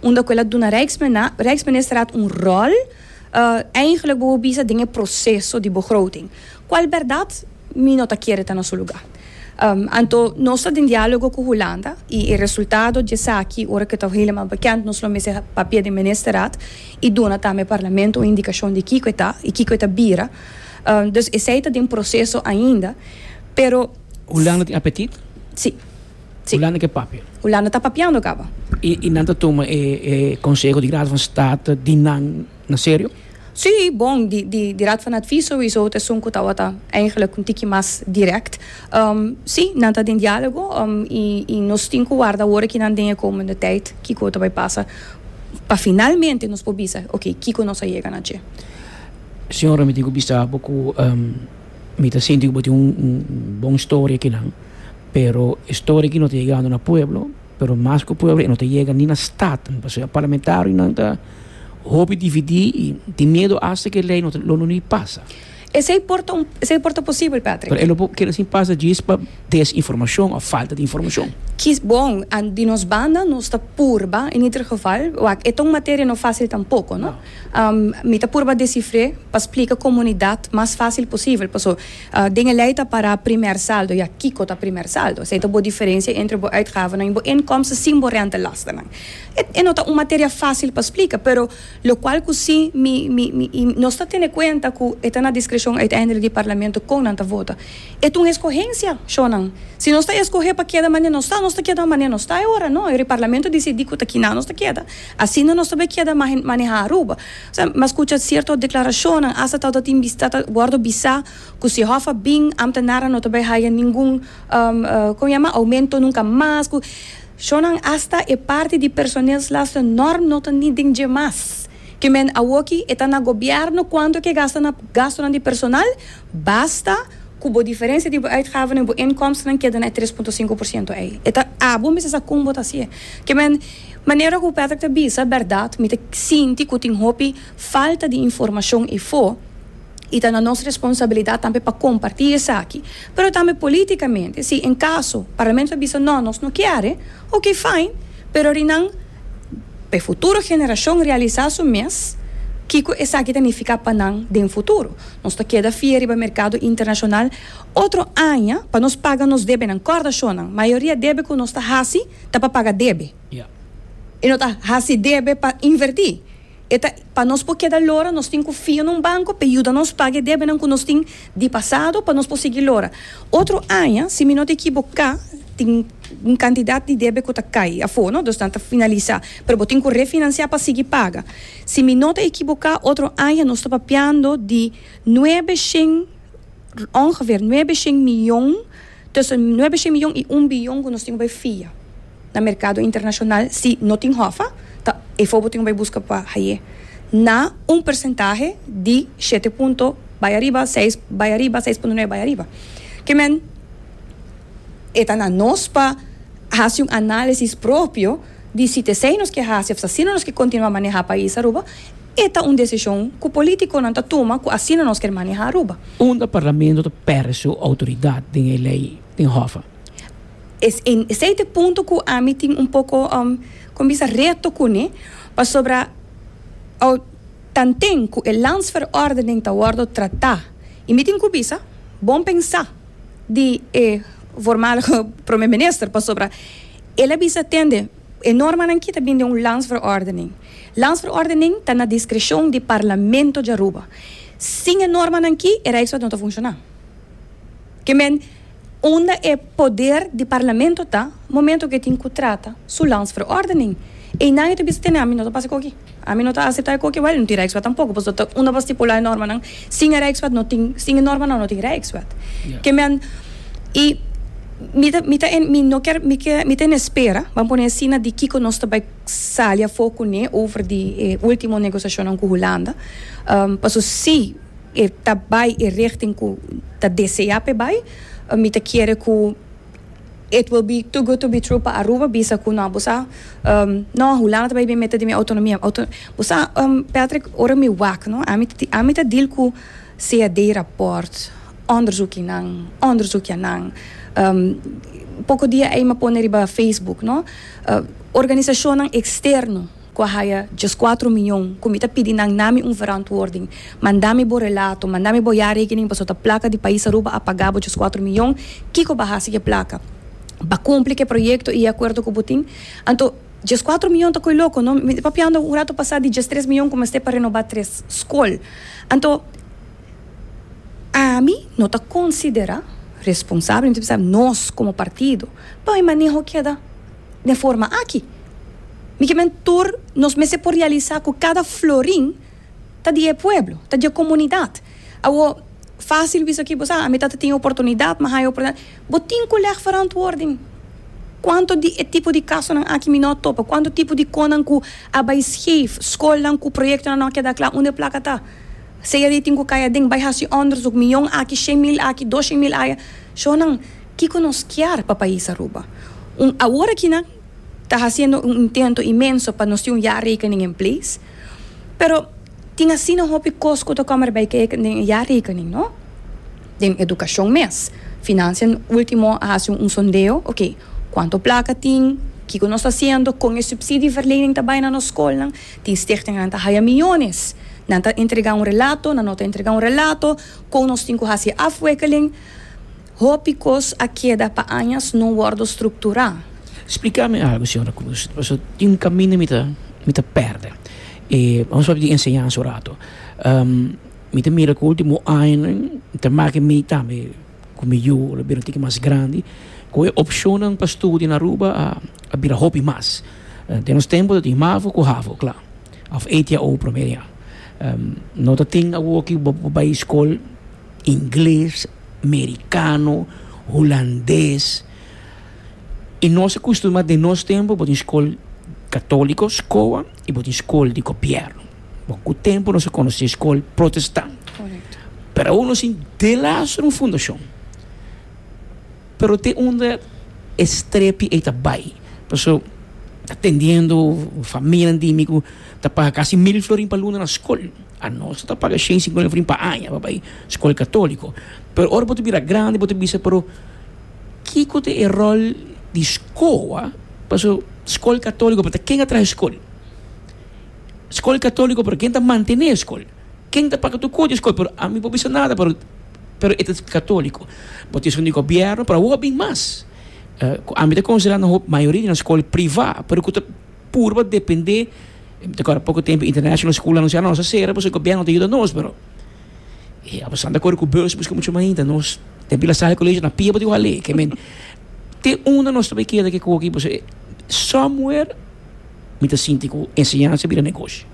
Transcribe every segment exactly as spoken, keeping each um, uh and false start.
Unda ku el a duna Rijksministerraad un rol uh, eigenlijk bo bisa den proseso di begroting. Kual berdat mi no ta kere ta na su lugá. Um, anto, nos ta den diálogo ku Hulanda i e resultado di esaki, ora ku ta helemaal bekend, nos lo mester papia den ministerraad i duna tambe parlamento un indikashon di kiko ta i kiko ta bira. Um, dus esei ta den proseso ainda, pero Hulanda tin apetit? Si. Si. Hulanda ke papia. Hulanda ta papiando kaba. I, i nan ta tuma e, e konseho di Raad van State di nan na serio? Si, bon, di, di, di Raad van Advies sowieso, het is zo'n wat eigenlijk un tikje mas direct. Um, si, nan ta den diálogo um, i, i nos tin ku warda ora ku nan den komende tijd, kiko ta bai pasa, pa finalmente nos por bisa, ok, kiko nos a yega na dje. Señora, mi tin ku bisa ku um, mi ta sinti ku un, un bon storia akinan, pero storia ku no ta yegando na pueblo, pero mas ku pueblo no ta yega ni na Staten, pasobra parlamentarionan ta hopi dividí i tin miedu hasta ku e lei no no no pasa. Esei por ta un, esei por ta posibel, Patrick. Pero e no ke asina pasa djis pa desinformashon òf falta di informashon. Kies, bon, en di nos banda nos ta purba, in ieder geval, wak, e ta un materia no fásil tampoko, no? Um, mi ta purba desifrá pa splika komunidat mas fásil posibel. Paso, uh, den lei ta para primair saldo, ja, kiko ta primair saldo. Esei ta bo diferensia entre bo uitgaven en bo inkomsten sin bo rentelasten. E, e no ta un materia fásil pa splika, pero lokual ku si mi, mi, mi, i nos ta tene kuenta ku e ta na diskreshon uiteindelijk di parlamento kon nan ta vota. E ta un eskohensia, shonan. Si nos ta eskohe pa keda manera nos ta, nos ta keda manera nos ta ora, no? E parlamento disidí ku ta kina nos ta keda. Asina nos ta keda manehá Aruba. Osea, m'a skucha sierto deklarashon, hasta tal dat tin bista wòrdu bisa ku si Hof bin, ambtenaren no ta bai haya ningun um, uh, kon yama, oumento nunka mas. Ku shonan, hasta e parti di personeelslasten norm no ta ni den dje mas. Ke men awoki e ta na gobièrnu kuantu ke gasta na gasto di personal, basta ku bo diferensia di uitgaven en bo inkomsten keda na tres punto sinku porshento ei. E ta abo mester sa kon bo ta hasié. Ke men manera ku Patrick ta bisa, berdat, mi ta sinti ku tin hopi falta di informashon i fo i ta na nos responsabilidat tambe pa kompartí esaki. Pero tambe polítikamente, si en kaso parlamento bisa no, nos no ke, ok, fine, pero rinan pa futuro generashon realisá su mes kiko esaki ta nifiká pa nan den futuro. Nos ta keda fia riba merkado internashonal otro aña pa nos paga nos debe nan kòrda, shonan. Mayoria debe ku nos ta hasi ta pa paga debe. Yeah. I no ta hasi debe pa invertí. E ta pa nos por keda lora, nos tin ku fia na un banko pa yuda nos paga debe nan ku nos tin di pasado pa nos por sigui lora. Otro aña, si mi no ta ekivoká, tin un kantidat di debe ku ta kai afó, no? Dus ta finalisá. Pero bo tin ku refinansiá pa sigui paga. Si mi no ta ekivoká, otro aña nos ta papiando di nuebe ongeveer nuebe mion, tussen nuebe mion i un bion ku nos tin ku fia na merkado internashonal, si no tin Hof, ta e for tin ku buska pa hay'é. Na un porsentahe di shete punto bai ariba, seis bai ariba, seis punto nuebe bai ariba. Ke men e ta na nos pa hasi un análisis propio di si t'esei nos ke hasi, òf si nos ke kontinuá manehá pais Aruba, e ta un desishon ku polítikonan ta tuma ku asina nos ke manehá Aruba. Unda parlamento ta pèrdè su outoridat den e lei den Hof? Es in esei punto ku ami tin un poko um, kon bisa, reto kuné, pasobra o tanten ku e landsverordening ta wòrdu tratá i mi tin ku bisa bon pensá di eh, voormalige prome minister, pasobra el a bisa: tende, e normanan aki ta bin den un landsverordening. Landsverordening ta na diskreshon di parlamento di Aruba. Sin e normanan aki e Rijkswet no ta funshoná. Ke men unda e poder di parlamento ta momento ku tin ku trata su landsverordening? I nan ta bisa: tene, ami no ta pasa koki. Ami no ta aseptá koki, wel, no tin Rijkswet tampoko, pasobra unda bo stipulá normanan? Sin Rijkswet no tin, sin normanan no tin Rijkswet. Yeah. Ke men i mi ta, mi ta en, mi no ke mi ke mi ta en espera, ban pone asina, di kiko nos ta bai sali afó kuné over di eh, último negosiashon ku Hulanda. Um, paso si e ta bai e richting ku ta deseá p'e bai, uh, mi ta kere ku it will be too good to be true pa Aruba bisa ku no, bosa um, no, Hulanda ta bai bin mete den mi outonomia. Auto, bosa um, Patrick, ora mi wak, no, ami ami ta deal ku C A D rapport, onderzoeknan, onderzoeknan. Um, poko dia ei m'a pone riba Facebook, no? Uh, organisashon eksterno. Ku a haya dieskuater mion, ku mi ta pidi nan duna mi un verantwoording. Manda mi bo relato, manda mi bo jaarrekening, paso ta plaka di pais Aruba a paga bo dieskuater mion, kiko b'a hasi ku e plaka? B'a kumpli ku e proyekto i akuerdo ku bo tin? Anto, dieskuater mion ta kos loko, no? Mi papiando un ratu pasá di diestres mion ku mester pa renobá tres skol. Anto, ami no ta konsiderá responsabel, anto, nos komo partido, pa e maneho keda di forma aki. Mi ke men tur nos mester por realisá ku kada florin ta di pueblo, ta di komunidat. Awo fásil bisa aki, bo sa, ami ta tin oportunidat, mas hay oportunidat. Bo tin ku leg verantwoording. Kuantu di e tipo di kasonan aki mi no a topa, kuantu tipo di kosnan ku a bai scheef, skolnan ku proyektonan no keda kla, unda plaka ta? Sea di tin ku kai aden, bai hasi onderzoek, mion aki, shen mil aki, dos mil aya. Shonnan, kiko nos kier pa pais Aruba? Un, awor aki nan ta hasiendo un intento inmenso pa nos tin un jaarrekening in place. Pero tin asina hopi kos ku ta komen erbij kijken den jaarrekening, no? Den edukashon mes. Financiën último a hasi un sondeo, ok, kuantu plaka tin, kiko nos ta hasiendo, kon e subsidieverlening tambe na nos skol, tin stichting ta haya millones. Nan ta entregá un relato, nan no ta entregá un relato, kon nos tin ku hasi afwikkeling. Hopi kos a keda pa añas no wòrdu strukturá. Splika mi algu, señora Cruz. Paso tin un kaminda mi ta mi ta pèrdè. E, ban papia di enseñansa un ratu. Um, mi ta mira ku último aña, ta maka mi tambe ku mi yu, a bira un tiki mas grandi, ku e opshon pa studia na Aruba a, a bira hopi mas. Uh, den nos tempu tin MAVO ku HAVO, klaro. Of E T A O promedio. Um, no ta tin awor ku bai skol ingles, merikano, hulandes. I nos a kustumbrá den nos tempu, bo tin skol katóliko, skol, i bo tin skol di gobièrnu. Bon, ku tempu nos a konosé skol protestant. Korekto. Pero uno sin delas un fundashon. Pero te unda e strepi ei ta bai. Paso atendiendo famia di mi ku ta paga kasi mil florin pa luna na skol. Anos ta paga shen sinkuenta florin pa aña pa bai skol katóliko. Pero ora bo bira grandi, bo bisa, pero kiko ta e ròl di skol? Paso skol katóliko, pero ken a traha skol? Skol katóliko, pero ken ta mantené skol? Ken ta paga tur kos di skol? Pero ami no bisa nada, pero pero e katóliko. Bo tin di gobièrnu, pero awor bin mas. Uh, ami ta konsiderando e mayoria di skol privá, pero ku ta purba dependé. Awor, poko tempu International School a anunsiá nos a sera, pasobra gobièrnu ta yuda nos, pero e apesar di ku bus buska muchu mas ainda, nos tin pila sala kolegio na pia di wale, ke men te unda nos tambe keda ku aki, pasobra somewhere mi ta sinti ku enseñansa bira negoshi.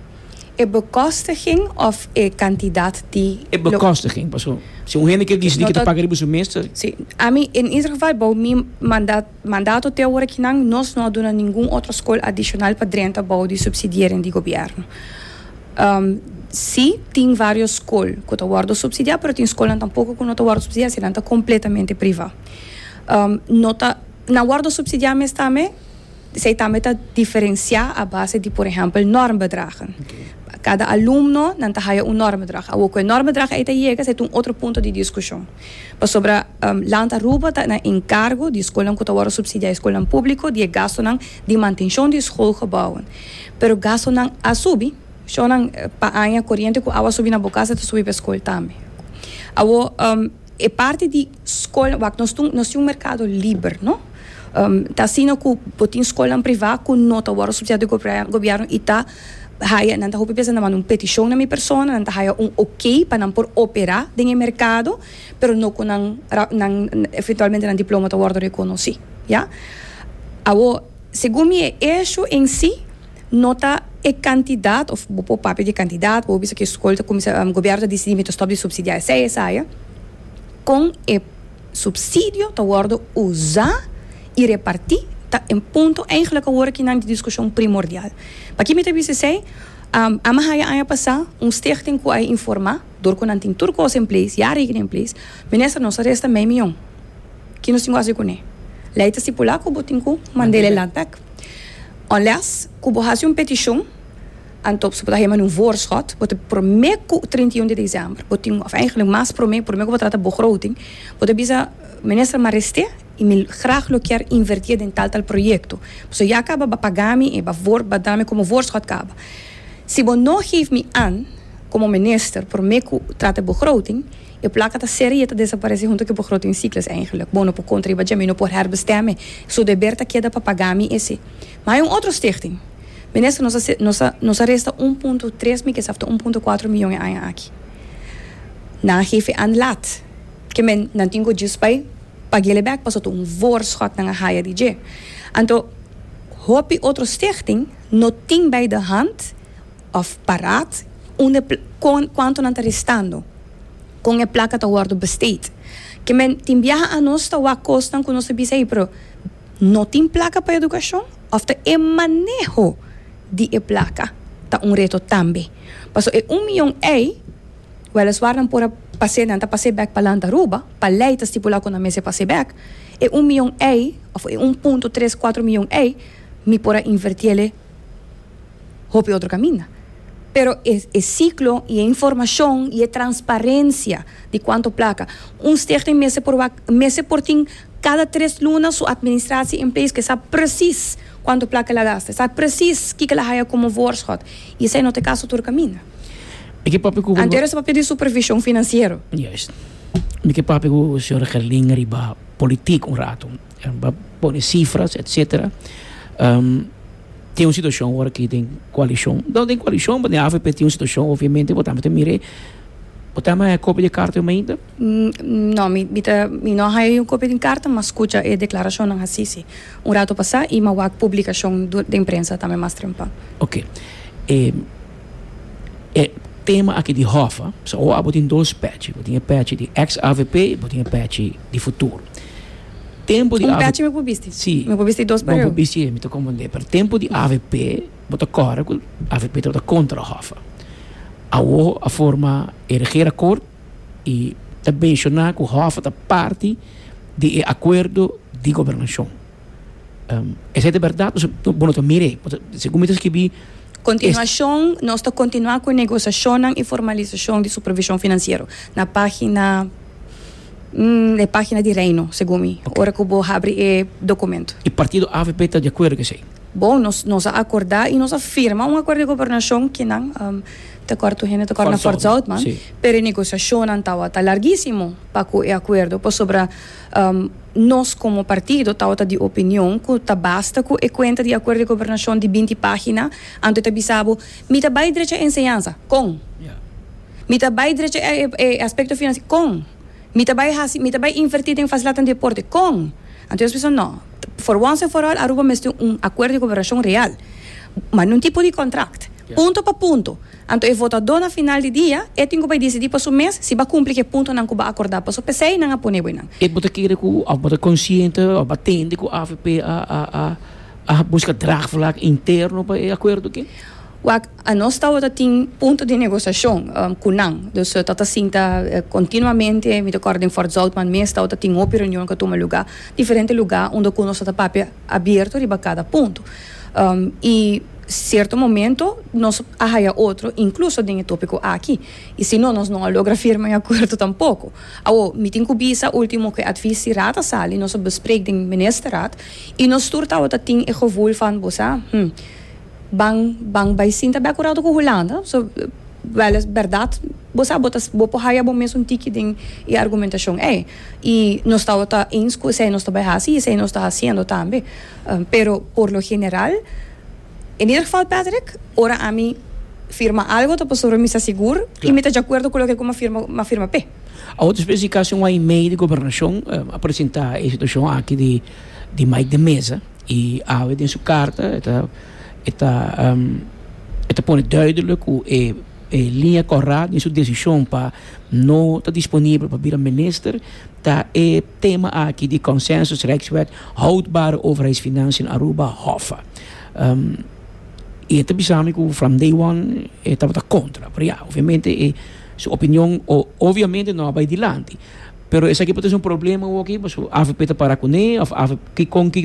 E bekostiging of e kantidat di E bekostiging, paso si un hende ke disidí ku ta paga riba su mes. Si, ami in ieder geval bou mi mandato mandato te awor aki nan nos no a duna ningun otro skol adishonal pa drenta bou di subsidiering di gobièrnu. Um, si, tin vários skol ku ta wòrdu supsidiá, pero tin skol tampoko ku no ta wòrdu supsidiá, si nan ta kompletamente privá. Um, no ta nan wòrdu supsidiá mes tambe, esei tambe ta diferensiá a base di, por ehèmpel, normbedragen. Okay. Kada alumno nan ta haya un normbedrag. Awor ku e normbedrag ei ta yega, esei ta un otro punto di diskushon. Pasobra um, Land Aruba ta na enkargo di skol ku ta wòrdu supsidiá, skol públiko, di gastonan di mantenshon di schoolgebouwen. Pero gastonan a subi, shonnan, pa aña koriente ku awa subi na bo kas, ta subi pa skol tambe. Awor um, e parti di skol, wak, nos tin nos tin un merkado liber, no? Um, ta asina ku bo tin skol privá ku no ta wòrdu supsidiá di gobièrnu i ta haya nan ta hopi pensa na un petishon na mi persona, nan ta haya un ok pa nan por operá den merkado, pero no ku nan nan eventualmente nan diploma ta wòrdu rekonosí, ja? Awor, segun mi, issue en si no ta e kantidat, òf bo papia di kantidat, bo bisa ku skol ta kuminsá, um, gobièrnu ta disidí mi stòp di supsidiá esei esei, kon e supsidio ta wòrdu usá i repartí ta un punto eigenlijk awor aki na diskushon primordial. Pa ki mi ta bisa esei, um, ami a haya aña pasá un stichting ku a informá, dor ku nan tin tur kos in place, jaarrekening in place, minister, nos a resta mei mion. Ki nos tin ku hasi kuné? Lei ta stipulá ku bo tin ku mand'é land bèk. Unless ku bo hasi un petishon, anto bo ta haya un voorschot, bo ta promé ku trinta i un di desèmber, bo tin, of eigenlijk mas promé, promé ku bo trata begroting, bo ta bisa minister, m'a rest'é. Y mi graag lo kier inverti den tal tal proyecto. So ya caba b'a paga mi y b'a voor b'a duna mi como voorschot caba. Si bo no geef mi aan como minister prome cu trata begroting, e placa ta serie ta desaparece hunto cu begrotingscyclus eigenlijk. Bo no por contra riba mi no por herbestemmen. So deber ta keda pa paga mi esey. Maar un otro stichting. Minister, nos nos nos a resta un punto tres, mi kier un punto cuater miyon aña aki. Nan geef aan laat. Kemen nan tin cu just bij pag'e back paso un voorschot nan a haya di dje. Anto hopi otro stichting no tin bij de hand of paraat unda cuanto nan ta restando. Con e placa ta wordo besteed. Kemen tin biaha anos ta wak cosnan cu nos ta bisa, pero no tin placa pa educacion of ta e maneho di e placa ta un reto tambe. Paso e un miyon ey, weliswaar nan por a pasa, nan ta pasa back pa Land Aruba, pa ley ta stipula cu nan mester pasa back, e un miyon ey, of e un punto tres cuater miyon ey, mi por a inverti hopi otro caminda. Pero e, e ciclo y e informacion y e transparencia di cuanto placa. Un stichting mester por mester por tin cada tres luna su administratie in place cu sabi precies cuanto placa el a gasta, sabi precies kico el a haya como voorschot. Y esey no ta caso tur caminda. Mi kier papia cu Anto e papel di supervision financiero. Juist. Mi kier papia cu señor Gerlin riba politiek un rato. Pone cifras, et cetera. Um, tin un situacion awor cu tin coalicion. No tin coalicion, mas na A V P tin un situacion, obviamente, bo tambe mira. Bo tin e copia di carta ainda? Mm, no, mi, mi, ta, mi no tin un copia di carta, mas scucha e declaracion nan asina. Un rato pasa y m'a wak publicacion di prensa tambe mas trempan. Ok. E, e tema aki di HOFA, so, oh, tin dos patch. Tin patch di ex-A V P, tin patch di futuro. Tempo di Un patch mi por bisti. Si. Mi por bisti dos. Bon, por bisti, mi ta comprende. Pero tempo di A V P, bo ta corda, A V P ta contra HOFA. Awo a forma e regeerakkoord y ta menciona cu HOFA ta parti di acuerdo di gobernacion. Um, esey ta berdad? Bon, no mira, segun mi ta skirbi. Continuacion, nos ta continua cu negociacion y formalisacion di supervision financiero. Na pagina mm, e pagina di Reino, segun mi. Okay. Ora cu bo habri e documento. E partido A V P ta di acuerdo cu esey? Bon, nos, nos a acorda y nos a firma un acuerdo di gobernacion cu nan um, di acuerdo hende di acuerdo na Fort Zoutman, si. Pero e negociacion tabata larguisimo pa e acuerdo, pasobra um, nos como partido tabata di opinion cu ta basta cu e cuenta di acuerdo di gobernacion di binti pagina, anto ta bisa bo, mi ta bay drecha enseñansa, con? Yeah. Mi ta bay drecha e, e, aspecto financiero, con? Mi ta bay hasi, mi ta bay inverti den facilidad di deporte, con? Anto nos a pensa, no, for once and for all, Aruba mester un acuerdo di cooperacion real, mas no un tipo di contract. Yeah. Punto pa punto. Anto, e votado na final di dia, e tin cu dicidi pa su mes, si bay cumpli cu e puntonan cu b'a acorda, pa so p'esey nan a pone nan. Y bo ta kere cu, of bo ta consciente, of bo a tende cu A V P a, a, a, a busca draagvlak interno pa e acuerdo aki? Wak, anos tabata tin punto di negociacion um, cu nan. Dus uh, tabata sinta uh, continuamente, mi ta corda den Fort Zoutman mes, tabata tin un reunion cu a tuma luga, diferente luga, unda cu nos tabata papia abierto riba cada punto. Um, y cierto momento nos a haya otro, incluso den e topico aki. Y si no, nos no a logra firma e acuerdo tampoco. Awo, mi tin cu bisa ultimo cu adviesraad a sali, nos a bespreek den ministerraad, y nos tur tabata tin e gevoel van, bo sa, hm, ban ban bay sinta bij acuerdo cu Hulanda. So, wel is berdad, bo sa, bo ta bo por haya bo mes un tiki den e argumentacion ey. Y nos tabata eens cu esey nos ta bay haci, esey nos ta haciendo tambe. Um, pero por lo general, in ieder geval Patrick, ora ami firma algo, ta pasobra mi ta sigur Claro. y mi ta di acuerdo cu loke cu m'a firma, m'a firma p'e. A otro especificacion ey mei di gobernacion eh, a presenta e situacion aki di di Mike de Meza y awe den su carta ta ta um, ta pone duidelijk cu e e liña cora den su decision pa no ta disponibel pa bira minister ta e tema aki di consensus Rijkswet houdbare overheidsfinanciën Aruba, HOFA. Um, y ta bisa mi cu from day one e tabata contra. Pero ja, obviamente e su opinion o, obviamente no a bay dilanti. Pero esaki por ta un problema aki, pues A V P ta para cune of A V P con cu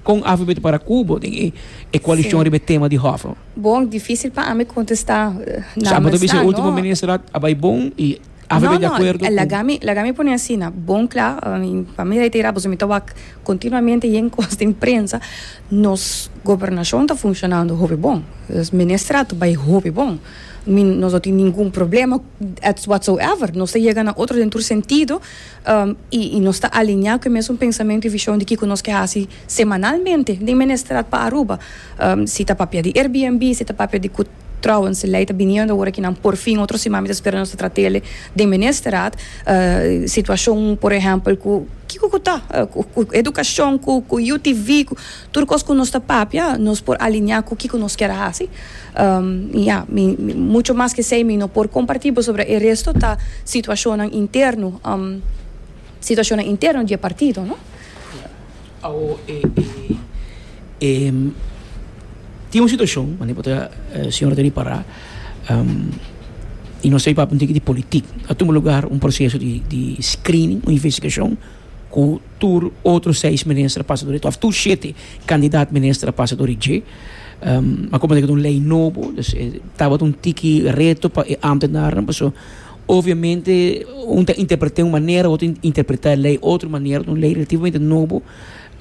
con A V P ta para cu bo e e coalicion Si. riba tema di HOFA. Bon, dificil pa mi contesta. Sabe, Namens bisa nan, ultimo no? minister a bay bon y A V P No, di no, acuerdo. Lagami, lagami pone asina, bon cla, pa mi reitera, pasobra mi ta continuamente den cos di prensa, nos gobernacion ta funcionando hopi bon. E ministerraad ta bay hopi bon. Mi, nos no tin ningun problema at whatsoever. Nos ta yega na otro den sentido um, y, y nos ta alinea cu e mesun pensamento y vision di cu nos kier haci semanalmente den ministerraad pa Aruba. Um, si ta papia di Airbnb, si ta papia di trouwens, ley ta biniendo awor aki nan por fin otro siman, spera nos trat'e den ministerraad, uh, situacion, por ehempel, cu kico cu ta, uh, cu educacion, cu cu U T V, cu tur cos cu nos ta papia, nos por alinea cu kico nos kier haci. Um, ja, mi, mi, mucho mas cu esey mi no por comparti sobre e resto ta situacion interno, um, situacion interno di partido, no? Oh, eh, eh, eh, tin un situacion, mas eh, señora tin para um, y no sa pa un di politiek. A tuma lugar un proceso di, di screening, un investigacion, cu tur otro seis minister pasa door, of tur siete candidaat minister pasa door I G. Um, maar como un ley nobo, dus eh, tabata un tiki reto pa ambtenaren, so, obviamente un ta interpreta un manera, otro interpreta e ley otro manera, un ley relativamente nobo.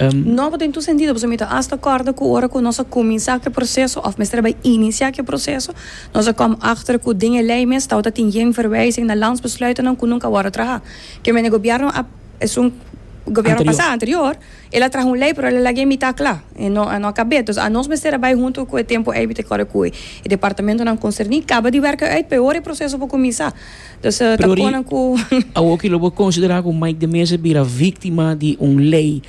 Um, Nobo den tur sentido, pasobra mi ta hasta corda cu ora cu nos a cuminsa e proceso, of mester bay inicia e proceso, nos a kom achter cu den e ley mes, dat tin geen verwijzing naar landsbesluiten cu nunca a wordo traha. Kiermen gobierno e un gobierno anterior. Pasa anterior, el a traha un ley, pero el a laga mitad cla, y no, no a caba. Dus nos mester bay hunto cu e tempo ey te core cu e departamentonan concerni, caba di werken uit, pa e proceso por cuminsa. Dus uh, Pero ta cu Awo cu lo por considera cu Mike de Meza bira victima di un ley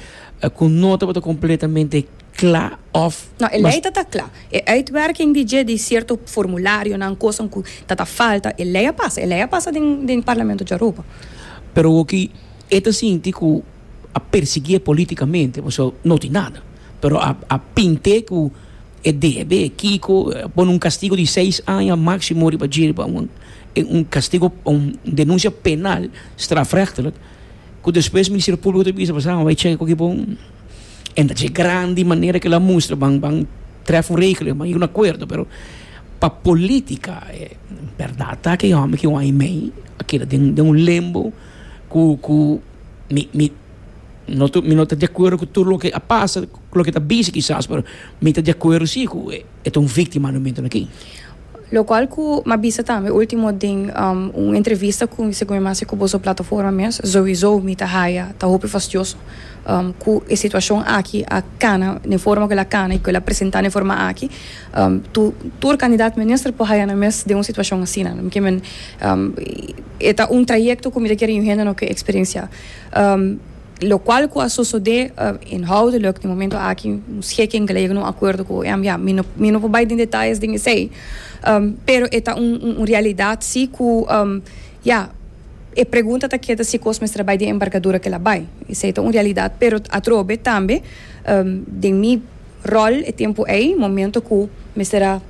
uh, cu no ta completamente cla of No, e ley ta cla. E uitwerking di dje di cierto formularionan cos cu ta falta, e ley a pasa, e ley a pasa den den Parlamento di Aruba. Pero loke e ta sinti cu a persigui politicamente, so, no tin nada. Pero a, a pint'e cu e debe, kico, pone un castigo di seis aña maximo riba un, un castigo, un denuncia penal, strafrechtelijk, cu despues Ministerio Publico ta bisa, ah, bay check cu bon. En dat is grande manera cu el a mustra, ban, ban tref un regeling, maar un acuerdo, pero pa politica, e berdad ta cu homber cu un aña y mey, aki den, den un limbo, cu, cu mi, mi, no, mi no ta di acuerdo cu tur loke a pasa, cu loke ta bisa kisas, pero mi ta di acuerdo si, cu e un victima na momento aki. Locual cu m'a bisa tambe ultimo den um, un entrevista cu segun mas cu boso plataforma mes, sowieso mi ta haya ta hopi fastioso um, cu e situacion aki a cana na forma cu el a cana y cu el a presenta na forma aki, um, tu tur candidato minister por haya na mes den un situacion asina, no? Kiermen um, ta un trayecto cu mi kier hende no kier experiencia, um, locual cu a sucede uh, inhoudelijk na momento aki un schikking gelegen, un acuerdo cu ja, ja mi no mi no por bay den detaye den esey, um, pero ta un, un, un realidad si cu um, ja, e pregunta ta keda si cos mester bay den envergadura cu el a bay. Esey ta un realidad, pero atrobe tambe um, den mi rol e tempo ey, momento cu mester a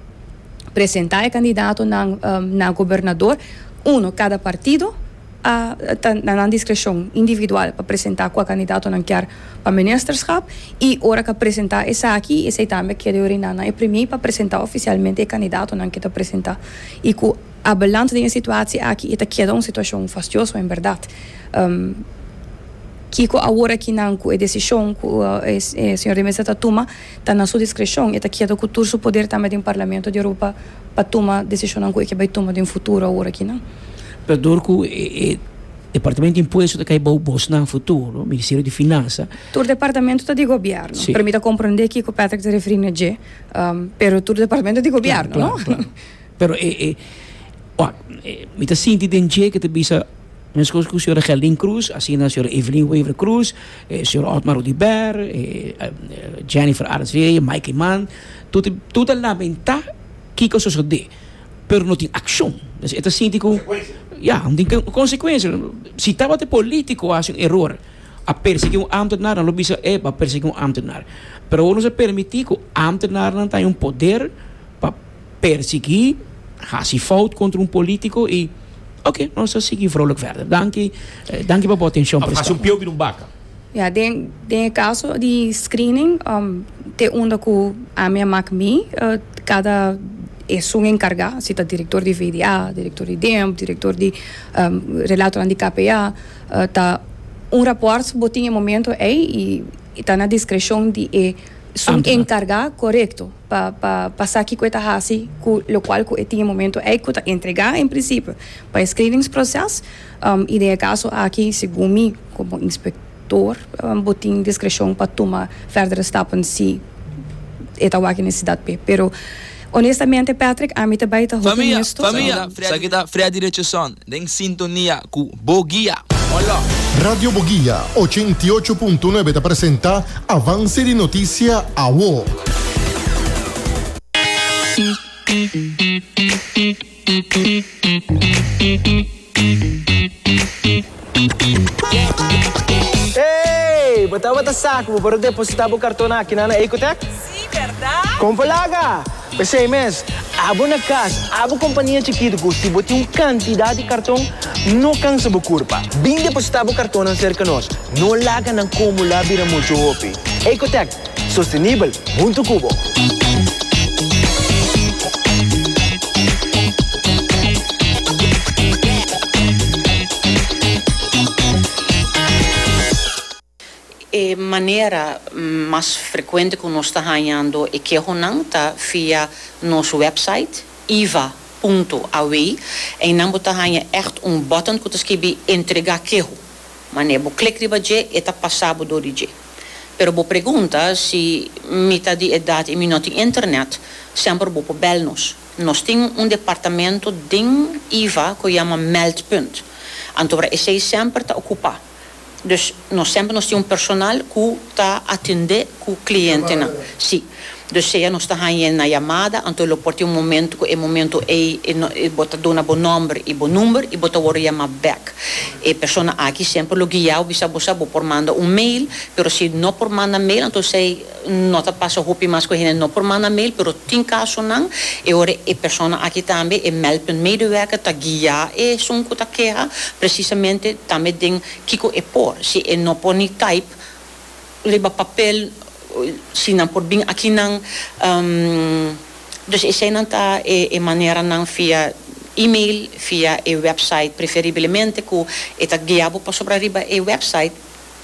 presenta e candidato na um, na gobernador, uno, cada partido a na na discrecion individual pa presenta cua candidato nan kier pa ministerschap y ora cu presenta esaki, esey tambe kier orina na e premier pa presenta oficialmente e candidatonan cu ta presenta y cu a balans di situatie aki ta keda un situacion fastioso en berdad. Um, Kico awor aki nan cu e decision cu e señor de Meza ta tuma ta na su discrecion y ta keda cu tur su poder tambe den Parlamento di Aruba pa tuma decision cu e bay tuma den futuro awor aki no. Pero door cu e Departamento di Impuesto ta cay bou bos na futuro, Ministerio di Finansa. Tur departamento ta di gobierno. Si. Pa mi ta comprende cu Patrick ta referi na, um, pero tur departamento di gobierno, claro, no? Claro. Pero eh, eh, oh, eh, mi ta sinti den dje cu ta bisa mescos cu señora Gerlin Cruz, asina señora Evelyn Wever Croes, eh, señor Otmar Oduber, eh, eh, Jennifer Arends, Mike Eman, tur tur ta lamenta kico a sucede, pero no tin accion. Dus e ta sinti cu ja, tin consecuencia. Si tabata politico haci un error, a persigui un ambtenaar, dan lo bisa eh, pa persigui un ambtenaar. Pero no ta permiti cu ambtenaar tin un poder pa persigui, haci fout contra un politico y oké, nos ta sigui vrolijk verder. Dank je, eh, dank je pa bo atencion. Of haci un pio di un baca. Ja, den, den caso di screening, um, te unda cu ami a maak mi, uh, cada Esun enkargá, si ta direktor di V D A, direktor di D E M P, direktor di um, relator di K P A, uh, ta un rapport bo tin e momento ei i ta na diskreshon di esun enkargá, korekto, pa pa pa sa kiko ta hasi ku lokual ku e tin e momento ei ku ta entregá en prinsipio pa e screeningsproces um, i den e kaso aki, segun mi komo inspektor, um, bo tin diskreshon pa tuma verdere stappen si e ta wak nesesidat p'e. Pero honestamente, Patrick, ami tambe ta Famia, famia, esaki ta Freddy Richardson, den sintonia ku Boguia. Hola. Radio Boguia ochenta i ocho punto nuebe ta presentá Avanse di Notisia Awo. Hey, bo tabata sa ku bo por depositá bo karton aki na Ecotech? Si, berdat? Kon laga? P'esei mes, abo na kas, abo kompania chikitu, si bo tin un kantidat di karton, no kansa bo kurpa. Bin depositá bo karton serka nos. No laga nan akumulá bira muchu hopi. Ecotech, sostenibel, huntu ku bo. E manera mas frekuente ku nos ta hañando e kehonan ta via nos website iva punto A W i nan bo ta haña echt un button ku ta skirbi "entregá keho". Manera bo klik riba dje, e ta pasa bo dor di dje. Pero bo pregunta si mi ta di edat i mi no tin internet, semper bo por bel nos. Nos tin un departamento den I V A ku yama meldpunt. Anto esei semper ta okupá. Dus nos semper nos tin un personal ku ta atendé ku klientenan. Si. Dus sea nos ta na yamada, anto lo por tin un momento ku e momento ei e bo ta duna bo nòmber i bo number i bo ta wòrdu yamá back. E persona aki semper lo guia bisa bo bo por manda un mail, pero si no por manda mail, anto esei no ta pasa hopi mas ku hende no por manda mail, pero tin kasonan e ora e persona aki tambe e meldpunt medewerker ta guia esun ku ta keha precisamente tambe den kiko e por. Si e no por ni type riba papel, si nan por bin aki nan um, dus esei nan ta e, e maneranan via e-mail, via e website preferiblemente, ku e ta guia bo pasobra riba e website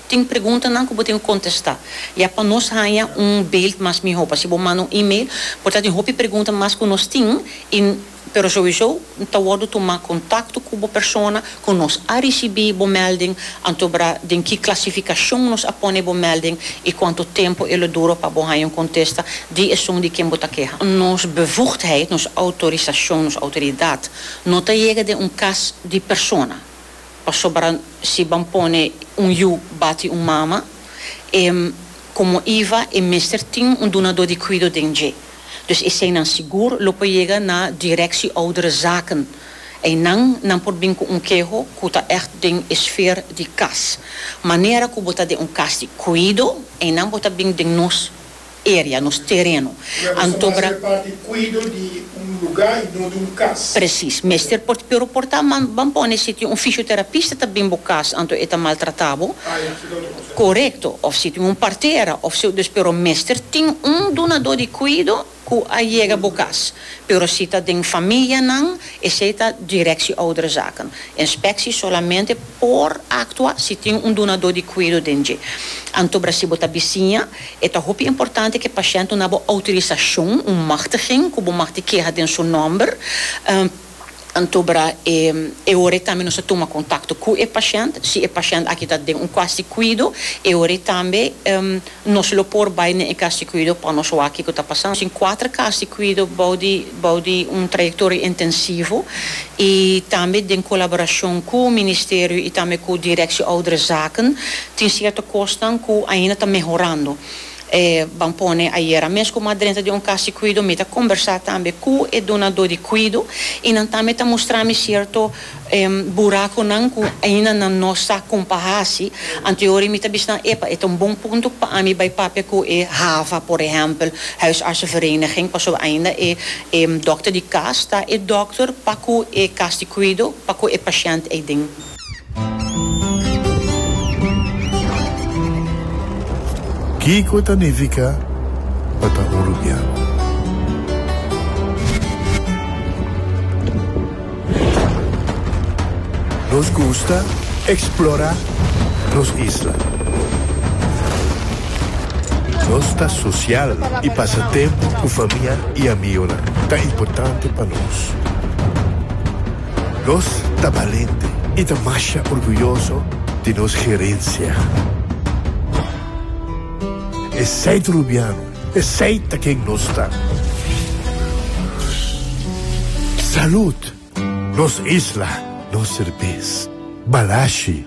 tin preguntanan ku bo tin ku kontestá. Ya pa nos haña un beeld mas mihó. Pa si bo manda un e-mail, por tin hopi pregunta mas ku nos tin, i, pero sowieso ta wòrdu tuma kontakto ku e persona, ku nos a risibí bo melding, anto bra den ki klasifikashon nos a pone bo melding i kuantu tempu e lo dura pa bo haña un kontesta di esun di ken bo ta keha. Nos bevoegdheid, nos outorisashon, nos outoridat, no ta yega den un kas di persona. Pasobra si ban pone un yu bati un mama, em, komo I V A e mester tin un dunadó di kuido den dje. Dus eseinan sigur lo por yega na Directie Ouderenzaken. Einan nan por bin ku un keho ku ta echt den sfera di kas. Manera ku bo ta den un kas di kuido, einan bo ta bin den nos area, nos tereno. Anto bra parti kuido di un lugá i no di un kas. Precies. Mester por, pero por ta man, ban pone si tin un fisioterapista ta bin bo kas, anto e ta maltratá bo. Ah, ja, esei ta otro kos. Korekto. Of si tin un partera, of si, dus pero mester tin un dunadó di kuido ku a yega bo kas. Pero si ta den famianan, esei ta Directie Ouderenzaken. Inspektie solamente por aktua si tin un dunadó di kuido den dje. Anto bra si bo ta bisiña, e ta hopi importante ku e pashènt duna bo outorisashon, un machtiging, ku bo mag keha den su nòmber. Um, anto bra e, e ora tambe nos ta tuma kontakto ku e pashènt, si e pashènt aki ta den un kas di kuido, e ora tambe um, nos lo por bai na e kas di kuido pa nos wak kiko ta pasando. Tin kuater kas di kuido bou di bou di un trayektoria intensivo i tambe den kolaborashon ku ministerio i tambe ku Directie Ouderenzaken, tin sierto kosnan ku ainda ta mehorando. Eh, ban pone ayera mes ku m'a drenta den un kas di kuido, mi ta kombersá tambe ku e dunadó di kuido i nan tambe ta mustra mi sierto eh, burakonan ku ainda nan no sa kon pa hasi. Anto ora mi ta bisa, epa, e ta un bon punto pa ami bai papia ku e HAVA, por ehèmpel, Huisartsenvereniging, paso ainda e, e dòkter di kas ta e dòkter pa ku e kas di kuido, pa ku e pashènt ei den. Kiko ta nifiká pa ta un rubiano? Nos gusta eksplorá nos isla. Nos ta sosial i pasa tempu ku famia i amigu ta importante pa nos. Nos ta balente i ta mas orguyoso di nos herensia. Esei ta rubiano, esei ta ken nos ta. Salú, nos isla, nos serbes. Balashi.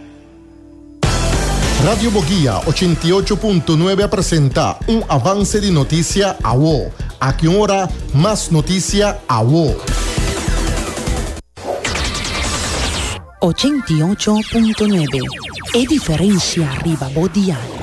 Radio Bo Guia ochenta i ocho punto nuebe presentá un avance di notisia awo. Aki ora, mas notisia awo. ochenta i ocho punto nuebe. E diferensia riba bo dial.